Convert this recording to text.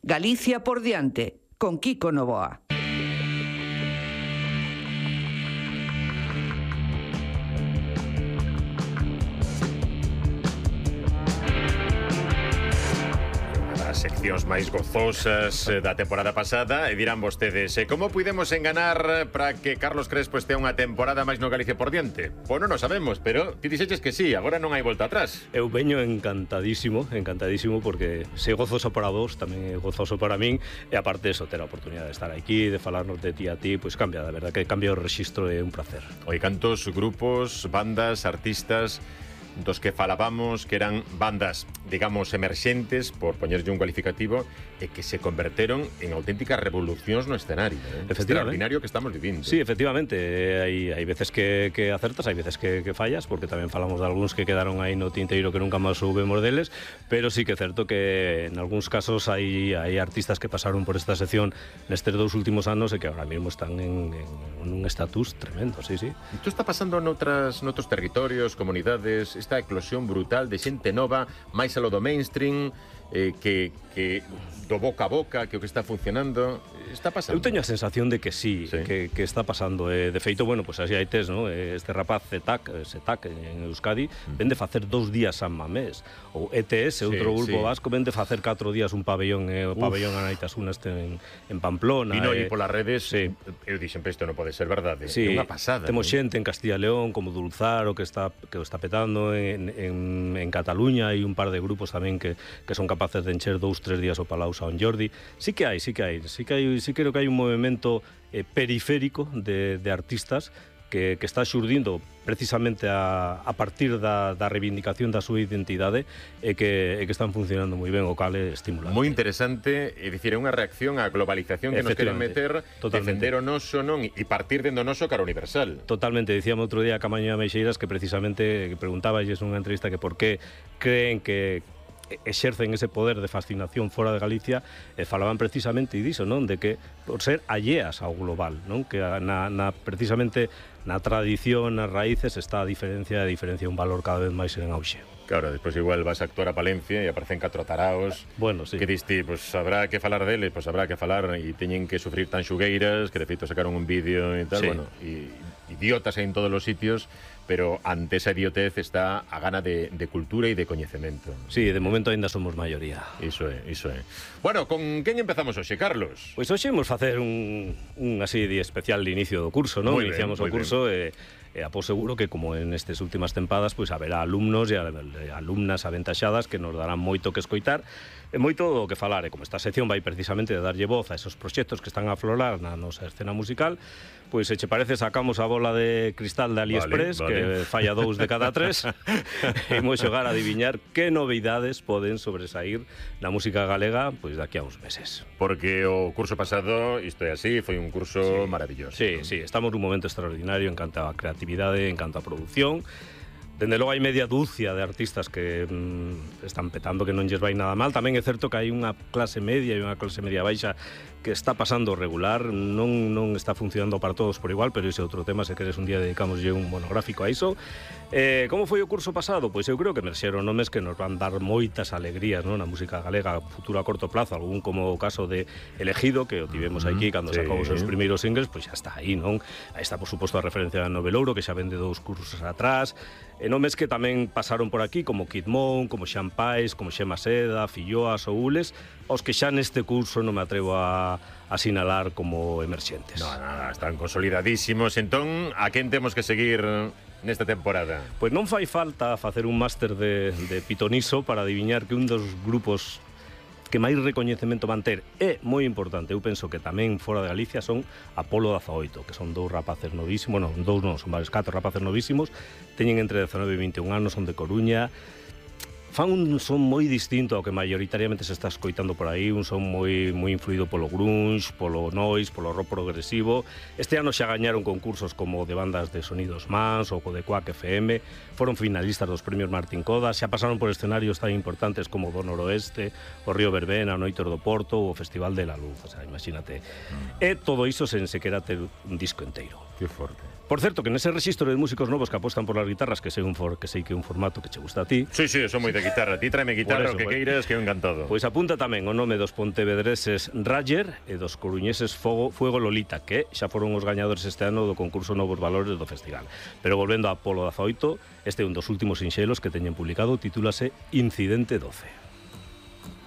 Galicia por diante, con Kiko Novoa. Seccións máis gozosas da temporada pasada e dirán vostedes, como podemos enganar para que Carlos Crespo este unha temporada máis no Galicia por diante? Pois non o sabemos, pero ti dixeches que sí, agora non hai volta atrás. Eu veño encantadísimo porque se gozoso para vos, tamén é gozoso para min, e aparte eso, ter a oportunidade de estar aquí, de falarnos de ti a ti, pois cambia, da verdad que cambia o rexistro, é un placer. Oi, cantos grupos, bandas, artistas dos que falábamos que eran bandas, digamos, emerxentes, por poñerlle un cualificativo, e que se converteron en auténticas revolucións no escenario, extraordinario que estamos vivindo. Sí, efectivamente, hai veces que acertas, hai veces que fallas, porque tamén falamos de algúns que quedaron aí no tinteiro que nunca máis soubemos deles, pero sí que é certo que en algúns casos hai artistas que pasaron por esta sección nestes 2 últimos anos e que ahora mismo están en un estatus tremendo, sí. Isto está pasando noutros territorios, comunidades, esta eclosión brutal de xente nova, máis a lo do mainstream, que do boca a boca, que o que está funcionando está pasando. Eu teño a sensación de que sí. Que está pasando. De feito, bueno, pues así hai tes, ¿no? Este rapaz Setak en Euskadi vende facer 2 días San Mamés, ou ETS, outro grupo vasco, vende facer 4 días un pabellón, o pabellón Anaitasuna en Pamplona. Vino aí polas redes, eu dixen, isto non pode ser verdade, é unha pasada. Temos xente en Castilla e León como Dulzaro que está petando, en Cataluña hai un par de grupos tamén que son capaces de encher 2-3 días o Palau San Jordi. Sí creo que hai un movimento periférico de artistas que está xurdindo precisamente a partir da reivindicación da súa identidade e que están funcionando moi ben, o cal é estimulante. Moi interesante, é dicir, é unha reacción á globalización que nos queren meter, defender o noso non e partir dendo noso cara universal. Totalmente, dicíamos outro día a Camaño Meixeiras que precisamente preguntaballes nunha entrevista que por que creen que exercen ese poder de fascinación fora de Galicia, e falaban precisamente diso, non? De que por ser alleas ao global, non? Que precisamente na tradición, nas raíces está a diferencia un valor cada vez máis en auxe. Claro, despois igual vas a actuar a Palencia e aparecen 4 taraos. Bueno, sí. Que diste, pois habrá que falar deles, pois habrá que falar e teñen que sufrir tan xugueiras, que de feito sacaron un vídeo e tal, bueno, e idiotas en todos os sitios, pero ante esa idiotez está a gana de cultura e de coñecemento. Sí, de momento ainda somos maioría. Iso é. Bueno, con quen empezamos hoxe, Carlos? Pois hoxe imos facer un así de especial de inicio do curso, non? Iniciamos o curso e após seguro que como en estas últimas tempadas pois haberá alumnos e alumnas aventaxadas que nos darán moito que escoitar e moito que falar, e como esta sección vai precisamente de darlle voz a esos proxectos que están a aflorar na nosa escena musical, pois se che parece sacamos a bola de cristal de AliExpress, que falla 2 de cada 3 e imos xogar a adiviñar que novidades poden sobresaír na música galega pois daqui a uns meses. Porque o curso pasado, isto é así, foi un curso maravilloso. Sí, estamos nun momento extraordinario en canto a creatividade, en canto a produción. Dende logo hai media dúcia de artistas que están petando, que non lles vai nada mal. Tamén é certo que hai unha clase media e unha clase media baixa que está pasando regular, non está funcionando para todos por igual, pero ese é outro tema, se queres un día dedicamoslle un monográfico a iso. Como foi o curso pasado? Pois eu creo que emerxeron nomes que nos van dar moitas alegrías, non? Na música galega, futuro a corto plazo, algún como o caso de Elegido, que o tivemos aquí cando sacou os seus primeiros singles, pois xa está aí, non? Aí está, por suposto, a referencia a Novelouro, que xa vende 2 cursos atrás. Nomes que tamén pasaron por aquí, como Kid Moon, como Xan Pais, como Xema Seda, Filloa, Soules, os que xa neste curso non me atrevo a sinalar como emerxentes. Nada, están consolidadísimos. Entón, a quen temos que seguir nesta temporada? Pois non fai falta facer un máster de pitoniso para adiviñar que un dos grupos que máis recoñecemento van ter é moi importante, eu penso que tamén fora de Galicia, son Apolo 18, que son 2 rapaces novísimos, son varios 4 rapaces novísimos, teñen entre 19 e 21 anos, son de Coruña, fan un son moi distinto ao que maioritariamente se está escoitando por aí, un son moi influído polo grunge, polo noise, polo rock progresivo. Este ano xa gañaron concursos como de bandas de Sonidos Mans ou de Quack FM, foron finalistas dos premios Martín Codas, xa pasaron por escenarios tan importantes como do Noroeste, o Río Verbena, o Noitor do Porto ou o Festival de la Luz, o sea, imagínate. E todo iso sen sequera ter un disco enteiro. Que forte. Por certo, que nese rexistro de músicos novos que apostan por las guitarras, que sei que é un formato que che gusta a ti. Sí, son moi de guitarra. Ti tráeme guitarra, o que queiras, que eu encantado. Pois apunta tamén o nome dos pontevedreses Rayer e dos coruñeses Fuego Lolita, que xa foron os gañadores este ano do concurso Novos Valores do festival. Pero volvendo a Polo 18, este é un dos últimos sinxelos que teñen publicado, titúlase Incidente 12.